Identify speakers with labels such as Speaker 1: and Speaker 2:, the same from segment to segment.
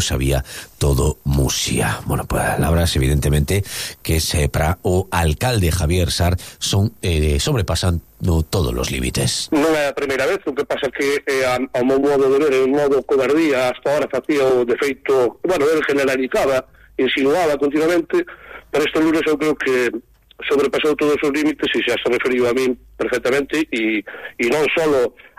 Speaker 1: sabía todo Muxía. Bueno, palabras evidentemente que para o alcalde Javier Sar son sobrepasan todos os límites.
Speaker 2: Non é a primeira vez, o que pasa que ao meu modo de ver, o modo cobardía hasta ahora facía o defeito, bueno, ele generalizaba, insinuaba continuamente, pero este lunes eu creo que sobrepasou todos os límites e xa se referiu a min perfectamente e non só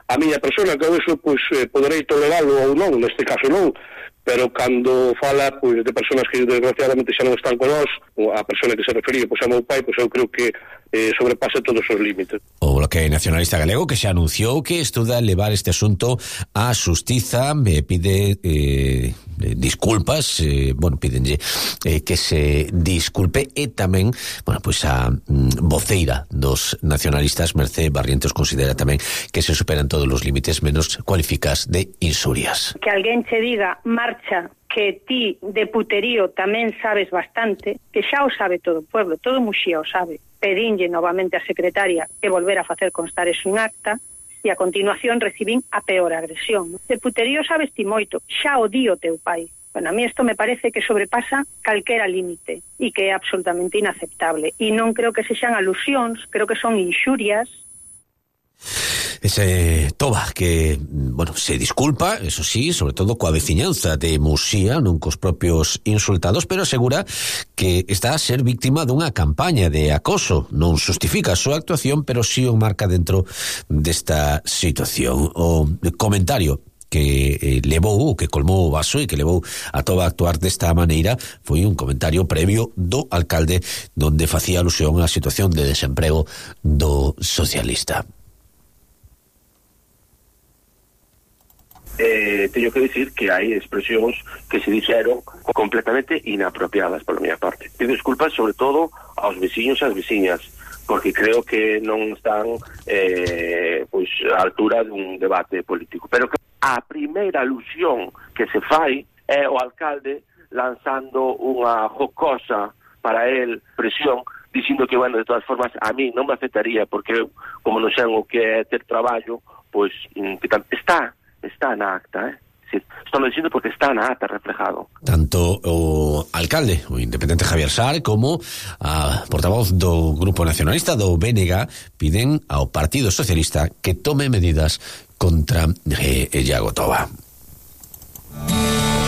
Speaker 2: a miña persona, que eu eso pois poderei toleralo ou non, neste caso non, pero cando fala pois de personas que desgraciadamente xa non están con nós, a persona que se refería pois a meu pai, pois eu creo que sobrepasa todos os límites.
Speaker 1: O Bloque Nacionalista Galego que xa anunciou que estuda levar este asunto á xustiza, pide disculpas, pídenlle que se disculpe e tamén, pois a voceira dos nacionalistas, Mercé Barrientos, considera tamén que se superan todos os límites menos cualificas de insurias.
Speaker 3: Que alguén che diga marcha, que ti de puterío tamén sabes bastante, que xa o sabe todo o pueblo, todo Muxía o sabe. Pedinlle novamente a secretaria que volver a facer constar eso en acta e a continuación recibín a peor agresión. De puterío sabes ti moito, xa o di o teu pai. Bueno, a mí isto me parece que sobrepasa calquera límite e que é absolutamente inaceptable. E non creo que sexan alusións, creo que son inxurias.
Speaker 1: Ese Toba que, se disculpa, eso sí, sobre todo coa veciñanza de Muxía, non cos propios insultados, pero asegura que está a ser víctima dunha campaña de acoso. Non justifica a súa actuación, pero sí o marca dentro desta situación. O comentario que levou, que colmou o vaso e que levou a Toba a actuar desta maneira foi un comentario previo do alcalde donde facía alusión á situación de desemprego do socialista.
Speaker 4: Teño que dicir que hai expresións que se dixeron completamente inapropiadas pola miña parte. Pido disculpas sobre todo aos veciños e ás veciñas, porque creo que non están á altura dun debate político. Pero que a primeira alusión que se fai é o alcalde lanzando unha jocosa para el presión, dicindo que, de todas formas, a mí non me afectaría, porque eu, como non sei o que é ter traballo, pois está na acta, Sí, estou dicindo porque está na acta reflejado.
Speaker 1: Tanto o alcalde, o independente Javier Sar, como a portavoz do Grupo Nacionalista do BNG piden ao Partido Socialista que tome medidas contra Iago Toba.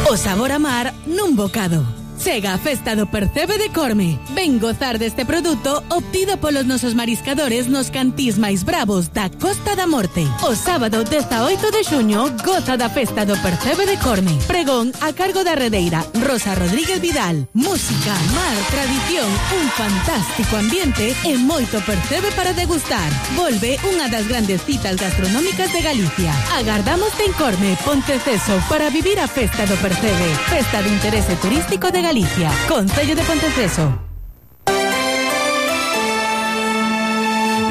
Speaker 5: O sabor a mar nun bocado. Chega a Festa do Percebe de Corme. Ven gozar deste produto obtido polos nosos mariscadores nos cantís máis bravos da Costa da Morte. O sábado 18 de xuño goza da Festa do Percebe de Corme. Pregón a cargo da redeira Rosa Rodríguez Vidal. Música, mar, tradición, un fantástico ambiente e moito percebe para degustar. Volve unha das grandes citas gastronómicas de Galicia. Agardamos en Corme, Ponteceso, para vivir a Festa do Percebe. Festa de interese turístico de Galicia, Concello de Ponteceso.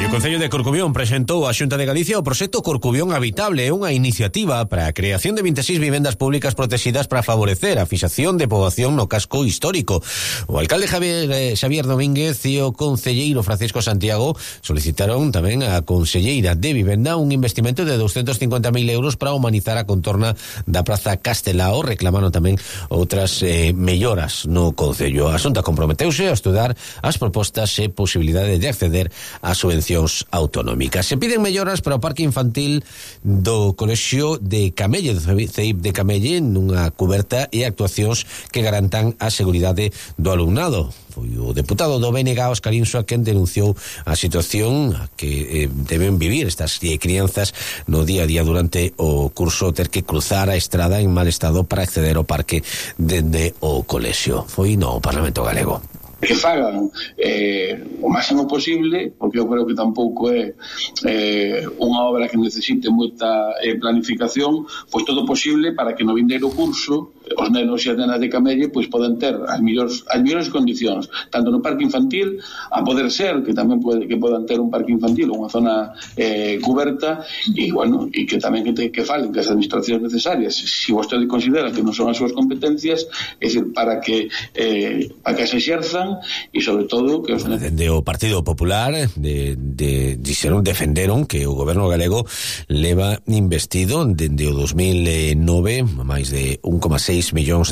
Speaker 5: O
Speaker 1: Concello de Corcubión presentou a Xunta de Galicia o proxecto Corcubión Habitable, unha iniciativa para a creación de 26 vivendas públicas protegidas para favorecer a fixación de poboación no casco histórico. O alcalde Xavier Domínguez e o concelleiro Francisco Santiago solicitaron tamén a conselleira de Vivenda un investimento de 250.000 euros para humanizar a contorna da Praza Castelao. Reclamaron tamén outras melloras no concello. A Xunta comprometeuse a estudar as propostas e posibilidade de acceder a subvencións autonómicas. Se piden melloras para o parque infantil do Colexio de Camelle, do CEIP de Camelle, nunha cuberta e actuacións que garantan a seguridade do alumnado. Foi o deputado do BNG, Óscar Insua, quen denunciou a situación que deben vivir estas crianzas no día a día durante o curso, ter que cruzar a estrada en mal estado para acceder ao parque dende o colexio. Foi no Parlamento Galego.
Speaker 6: Que fagan o máximo posible, porque eu creo que tampouco é unha obra que necesite moita planificación, pois todo posible para que no vindeiro curso os nenos e as nenas de Camelle pois poden ter as mellores condicións, tanto no parque infantil, a poder ser que tamén que podan ter un parque infantil ou unha zona cuberta, e e que tamén que falen que as administracións necesarias, se vostede considera que non son as súas competencias, é dicir, para que se exerzan cumpran e sobre todo que os...
Speaker 1: Dende o Partido Popular defenderon que o goberno galego leva investido dende o 2009 máis de 1,6 millóns de